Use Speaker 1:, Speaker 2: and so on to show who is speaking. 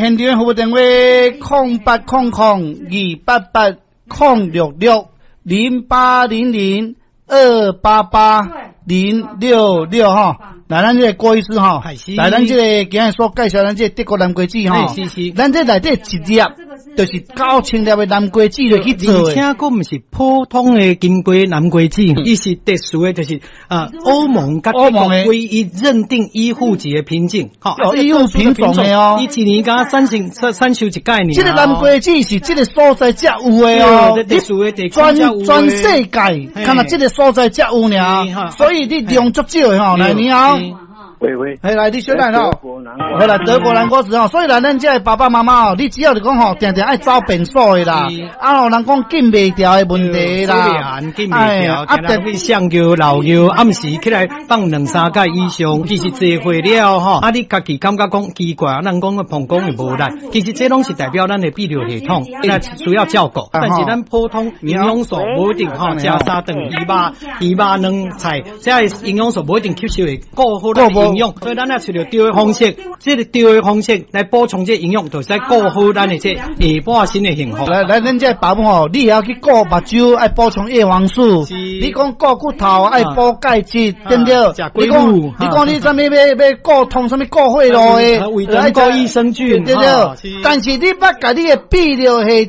Speaker 1: 現場服務電話0800288066，0800288066吼。來，咱這个郭醫師吼，來，咱這个今日所介紹咱這个德國南瓜子吼，咱這內底一粒就是9000粒的南瓜子落去做
Speaker 2: 的，而且閣毋是普通的金瓜南瓜子，伊是特殊的，就是歐盟佮德國唯一認定醫護級的品種，
Speaker 1: 吼，醫護品種的哦，
Speaker 2: 伊一年敢產生產收一擺爾。
Speaker 1: 這个南瓜子是這个所在才有的哦，
Speaker 2: 特殊的地區
Speaker 1: 全世界，敢若這个所在才有爾，所以你量足少的吼，來你好。
Speaker 3: 喂喂，
Speaker 1: 嘿，來，你小等吼，好啦，德國南瓜子吼，所以來咱這个爸爸媽媽哦，你只要是講吼，定定愛走便所的啦，啊吼，人講禁袂牢的問題啦，
Speaker 2: 禁袂牢，啊，特別上尿漏尿，暗時起來放兩三擺以上，其實濟歲了吼，啊，你家己感覺講奇怪，人講個膀胱會無力，其實這攏是代表咱的泌尿系統，那需要照顧。但是咱普通營養素無一定吼，食三頓魚肉、魚肉卵菜，這个營養素無一定吸收會顧好咱的營養，所以咱若揣著對的方式，這个對的方式來補充這個營養，就是顧好咱的這下半身的幸福。
Speaker 1: 來來，咱這个爸母吼，你會曉去顧目睭，愛補充葉黃素；你講顧骨頭，愛補鈣質，對毋對？你講你啥物欲顧通，啥物顧血路的，
Speaker 2: 愛顧益生菌，
Speaker 1: 對毋對？但是你捌共你的泌尿系